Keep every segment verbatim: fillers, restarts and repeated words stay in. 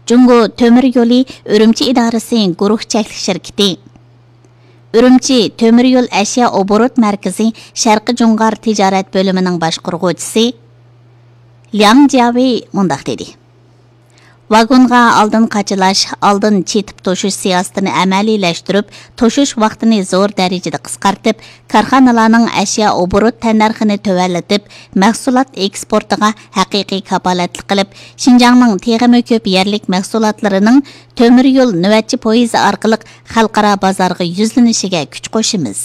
جۇڭگو تۆمۈر يولى ئۈرۈمچى ئىدارىسى گۇرۇھ چەكلىك شىركىتى، ئۈرۈمچى تۆمۈر يول ئەشيا ئوبوروت مەركىزى شەرقىي جۇڭغار تىجارەت بۆلۈمىنىڭ باشقۇرغۇچىسى لياڭ جياۋېي مۇنداق دېدى: ۋاگونغا ئالدىن قاچىلاش، ئالدىن چېتىپ توشۇش سىياسىتىنى ئەمەلىيلەشتۈرۈپ، توشۇش ۋاقتىنى زور دەرىجىدە قىسقارتىپ، كارخانىلارنىڭ ئەشيا ئوبوروت تەننەرخىنى تۆۋەنلىتىپ، مەھسۇلات ئېكسپورتىغا ھەقىقىي كاپالەتلىك قىلىپ، شىنجاڭنىڭ تېخىمۇ كۆپ يەرلىك مەھسۇلاتلىرىنىڭ تۆمۈر يول نۆۋەتچى پويىزى ئارقىلىق خەلقئارا بازارغا يۈزلىنىشىگە كۈچ قوشىمىز.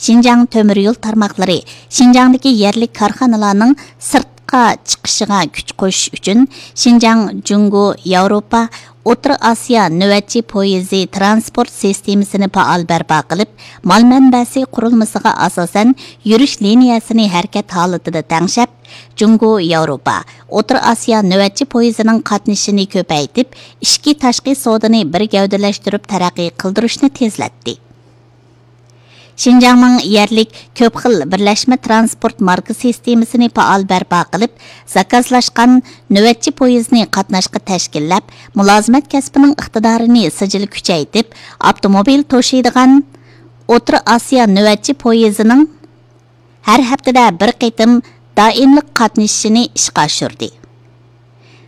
شىنجاڭ تۆمۈر يول تارماقلىرى شىنجاڭدىكى يەرلىك كارخانىلارنىڭ سىرتقا چىقىشىغا كۈچ قوشۇش ئۈچۈن شىنجاڭ جۇڭگو ياۋروپا ئوتتۇرا ئاسىيا نۆۋەتچى پويىزى تىرانسپورت سىستېمىسىنى پائال بەرپا قىلىپ، مال مەنبەسى قۇرۇلمىسىغا ئاساسەن يۈرۈش لىنىيەسىنى ھەرىكەت ھالىتىدە تەڭشەپ، جۇڭگو ياۋروپا ئوتتۇرا ئاسىيا نۆۋەتچى پويىزىنىڭ قاتنىشىشىنى كۆپەيتىپ، ئىچكى تاشقى سودىنى بىر گەۋدىلەشتۈرۈپ تەرەققىي قىلدۇرۇشنى تېزلەتتى. شىنجاڭنىڭ يەرلىك كۆپ خىل بىرلەشمە تىرانسپورت ماركا سىستېمىسىنى پائال بەرپا قىلىپ، زاكازلاشقان نۆۋەتچى پويىزنى قاتناشقا تەشكىللەپ، مۇلازىمەت كەسپىنىڭ ئىقتىدارىنى سىجىل كۈچەيتىپ، ئاپتوموبىل توشۇيدىغان ئوتتۇرا ئاسىيا نۆۋەتچى پويىزىنىڭ ھەر ھەپتىدە بىر قېتىم دائىملىق قاتنىشىشىنى ئىشقا ئاشۇردى.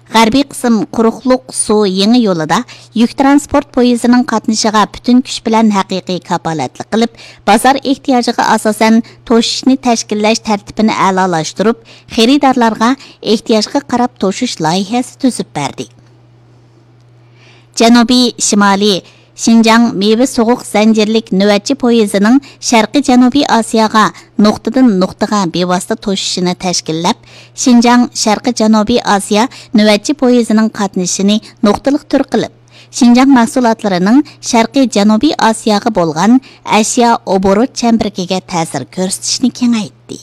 غەربىي قىسىم قۇرۇقلۇق سۇ يېڭى يولىدا يۈك تىرانسپورت پويىزىنىڭ قاتنىشىغا پۈتۈن كۈچ بىلەن ھەقىقىي كاپالەتلىك قىلىپ، بازار ئېھتىياجىغا ئاساسەن توشۇشنى تەشكىللەش تەرتىپىنى ئەلالاشتۇرۇپ، خېرىدارلارغا ئېھتىياجغا قاراپ توشۇش لايىھەسى تۈزۈپ بەردى. جەنۇبىي شىمالىي شىنجاڭ مېۋە سوغۇق زەنجىرلىك نۆۋەتچى پويىزىنىڭ شەرقىي جەنۇبىي ئاسىياغا نۇقتىدىن نۇقتىغا بىۋاسىتە توشۇشىنى تەشكىللەپ، شىنجاڭ شەرقىي جەنۇبىي ئاسىيا نۆۋەتچى پويىزىنىڭ قاتنىشىشىنى نۇقتىلىق تۈر قىلىپ، شىنجاڭ مەھسۇلاتلىرىنىڭ شەرقىي جەنۇبىي ئاسىياغا بولغان ئەشيا ئوبوروت چەمبىرىكىگە تەسىر كۆرسىتىشنى كېڭەيتتى.